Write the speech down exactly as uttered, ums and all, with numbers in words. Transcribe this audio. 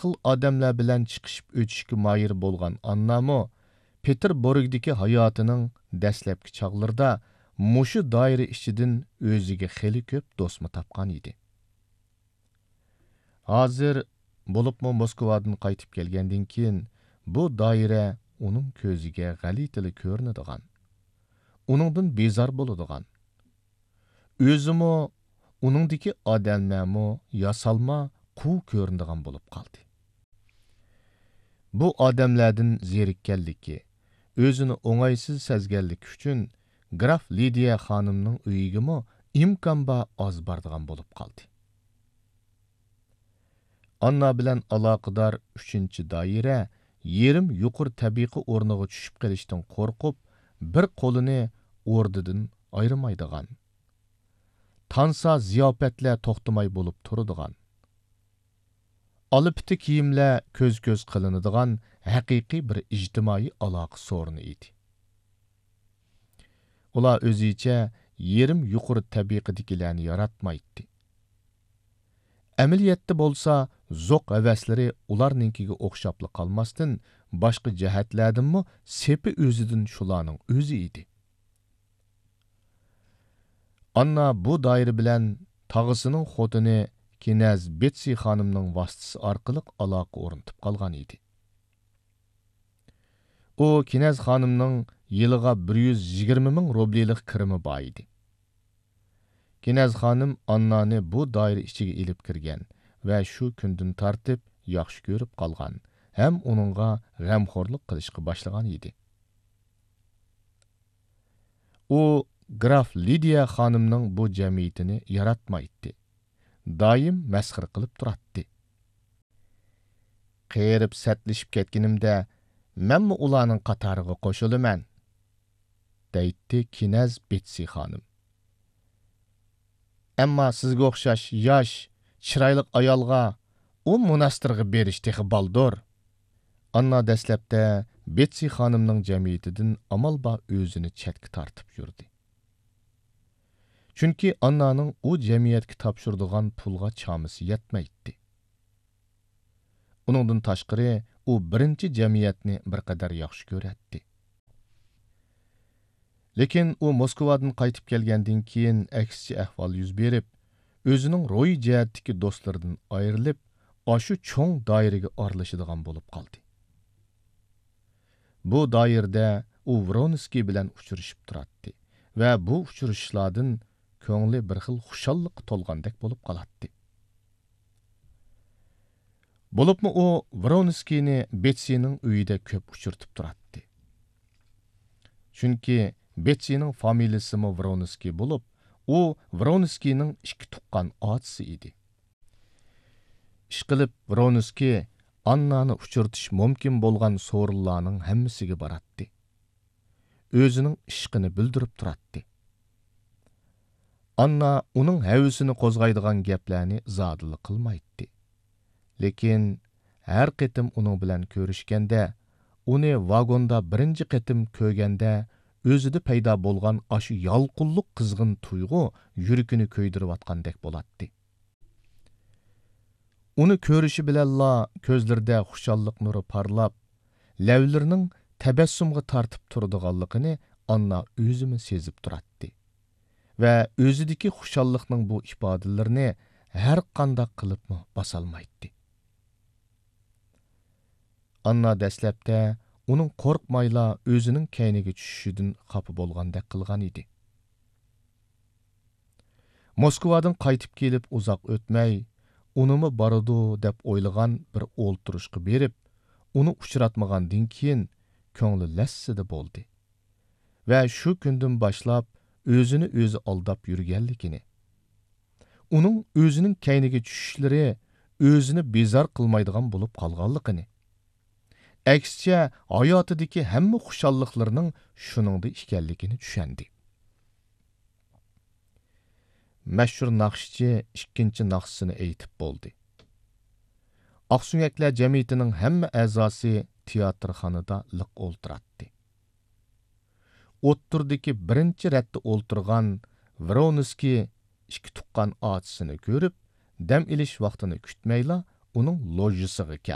خىل ئادەملەر بىلەن چىقىشىپ ئۆتۈشكە ماھىر بولغان ئاننامۇ پېتېربۇرگدىكى ھاياتىنىڭ دەسلەپكى چاغلىرىدا مۇشۇ دائىرە ئىچىدىن ئۆزىگە خېلى كۆپ دوستمۇ تاپقان ئىدى. ھازىر، بولۇپمۇ موسكۋادىن قايتىپ كەلگەندىن كېيىن، بۇ دائىرە ئۇنىڭ كۆزىگە غەلىتىلا كۆرۈنىدىغان، ئۇنىڭدىن بىزار بولىدىغان، ئۆزىمۇ، ئۇنىڭدىكى ئادەملەرمۇ ياسالما، قۇۋ كۆرۈنىدىغان بولۇپ قالدى. بۇ ئادەملەردىن زېرىككەنلىكى، ئۆزىنى ئوڭايسىز سەزگەنلىكى ئۈچۈن گراف لىدىيە خانىمنىڭ ئۆيىگىمۇ ئىمكان بار ئاز بارىدىغان بولۇپ قالدى. ئاننا بىلەن ئالاقىدار ئۈچىنچى دائىرە يېرىم يۇقىرى تەبىقە ئورنىغا چۈشۈپ قېلىشتىن قورقۇپ، بىر قولىنى ئوردىدىن ئايرىمايدىغان، تانسا زىياپەتلەر توختىماي بولۇپ تۇرىدىغان، ئالا پىتى كىيىملەر كۆز-كۆز قىلىنىدىغان ھەقىقىي بىر ئىجتىمائىي ئالاقە سورۇنى ئىدى. ئۇلار ئۆزىچە يېرىم يۇقىرى تەبىقىدىكىلەرنى ياراتمايتتى. ئەمەلىيەتتە بولسا، زوق ھەۋەسلىرى ئۇلارنىڭكىگە ئوخشاپلا قالماستىن، باشقا جەھەتلەردىنمۇ سېپى ئۆزىدىن شۇلارنىڭ ئۆزى ئىدى. ئاننا بۇ دائىرە بىلەن تاغىسىنىڭ خوتۇنى كىنەز بېتسى خانىمنىڭ ۋاسىتىسى ئارقىلىق ئالاقە ئورنىتىپ قالغان ئىدى. ئۇ كىنەز خانىمنىڭ يىلىغا بىر يۈز يىگىرمە مىڭ روبلىلىق كىرىمى بار ئىدى. كىنەز خانىم ئاننانى بۇ دائىرە ئىچىگە ئېلىپ كىرگەن ۋە شۇ كۈندىن تارتىپ ياخشى كۆرۈپ قالغان ھەم ئۇنىڭغا غەمخورلۇق قىلىشقا باشلىغان ئىدى. ئۇ گراف لىدىيە خانىمنىڭ بۇ جەمئىيىتىنى ياراتمايتتى. دائىم مەسخىرە قىلىپ تۇراتتى. قېرىپ سەتلىشىپ كەتكىنىمدە، مەنمۇ ئۇلارنىڭ قاتارىغا قوشۇلىمەن، دەيتتى كىنەز بېتسى خانىم. ئەمما سىزگە ئوخشاش ياش، چىرايلىق ئايالغا ئۇ موناستىرغا بېرىش تېخى بالدۇر. ئاننا دەسلەپتە بېتسى خانىمنىڭ جەمئىيىتىدىن ئامال بار ئۆزىنى چەتكە تارتىپ يۈردى. چۈنكى ئاننانىڭ ئۇ جەمئىيەتكە تاپشۇرىدىغان پۇلغا چامىسى يەتمەيتتى. ئۇنىڭدىن تاشقىرى، ئۇ بىرىنچى جەمئىيەتنى بىر قەدەر ياخشى كۆرەتتى. لېكىن ئۇ موسكۋادىن قايتىپ كەلگەندىن كېيىن ئەكسىچە ئەھۋال يۈز بېرىپ، ئۆزىنىڭ روھىي جەھەتتىكى دوستلىرىدىن ئايرىلىپ، ئاشۇ چوڭ دائىرىگە ئارىلىشىدىغان بولۇپ قالدى. بۇ دائىرىدە ئۇ ۋرونسكىي بىلەن ئۇچرىشىپ تۇراتتى ۋە بۇ ئۇچرىشىشلاردىن كۆڭلى بىر خىل خۇشاللىققا تولغاندەك بولۇپ قالاتتى. بولۇپمۇ ئۇ ۋرونسكىينى بېتسىنىڭ ئۆيىدە كۆپ ئۇچرىتىپ تۇراتتى. چۈنكى بېتسىنىڭ فامىلىسىمۇ ۋرونسكىي بولۇپ، ئۇ ۋرونسكىينىڭ ئىككى تۇغقان ئاچىسى ئىدى. ئىشقىلىپ، ۋرونسكىي ئاننانى ئۇچرىتىش مۇمكىن بولغان سورۇنلارنىڭ ھەممىسىگە باراتتى. ئۆزىنىڭ ئىشقىنى بىلدۈرۈپ تۇراتتى. ئاننا ئۇنىڭ ھەۋىسىنى قوزغايدىغان گەپلەرنى زادىلا قىلمايتتى. لېكىن ھەر قېتىم ئۇنىڭ بىلەن كۆرۈشكەندە، ئۇنى ۋاگوندا بىرىنچى قېتىم كۆرگەندە، ئۆزىدە پەيدا بولغان ئاشۇ يالقۇنلۇق قىزغىن تۇيغۇ يۈرىكىنى كۆيدۈرۈۋاتقاندەك بولاتتى. ئۇنى كۆرۈشى بىلەنلا كۆزلىرىدە خۇشاللىق نۇرى پارلاپ، لەۋلىرىنىڭ تەبەسسۇمغا تارتىپ تۇرىدىغانلىقىنى ئاننا ئۆزىمۇ سېزىپ تۇراتتى ۋە ئۆزىدىكى خۇشاللىقنىڭ بۇ ئىپادىلىرىنى ھەر قانداق قىلىپمۇ باسالمايتتى. ئاننا دەسلەپتە ئۇنىڭ قورقمايلا ئۆزىنىڭ كەينىگە چۈشۈشىدىن خاپا بولغاندەك قىلغان ئىدى. موسكۋادىن قايتىپ كېلىپ ئۇزاق ئۆتمەي، ئۇنىمۇ بارىدۇ دەپ ئويلىغان بىر ئولتۇرۇشقا بېرىپ، ئۇنى ئۇچراتمىغاندىن كېيىن، كۆڭلى لەسسىدە بولدى ۋە شۇ كۈندىن باشلاپ ئۆزىنى ئۆزى ئالداپ يۈرگەنلىكىنى، ئۇنىڭ ئۆزىنىڭ كەينىگە چۈشۈشلىرى ئۆزىنى بىزار قىلمايدىغان بولۇپ قالغانلىقىنى، ئەكسىچە، ھاياتىدىكى ھەممە خۇشاللىقلىرىنىڭ شۇنىڭدا ئىكەنلىكىنى چۈشەندى. مەشھۇر ناخشىچى ئىككىنچى ناخشىسىنى ئېيتىپ بولدى. ئاقسۆڭەكلەر جەمئىيىتىنىڭ ھەممە ئەزاسى تىياتىرخانىدا لىق ئولتۇراتتى. ئوتتۇرىدىكى بىرىنچى رەتتە ئولتۇرغان ۋرونسكىي ئىككى تۇغقان ئاچىسىنى كۆرۈپ، دەم ئېلىش ۋاقتىنى كۈتمەيلا، ئۇنىڭ لوژىسىغا كەلدى.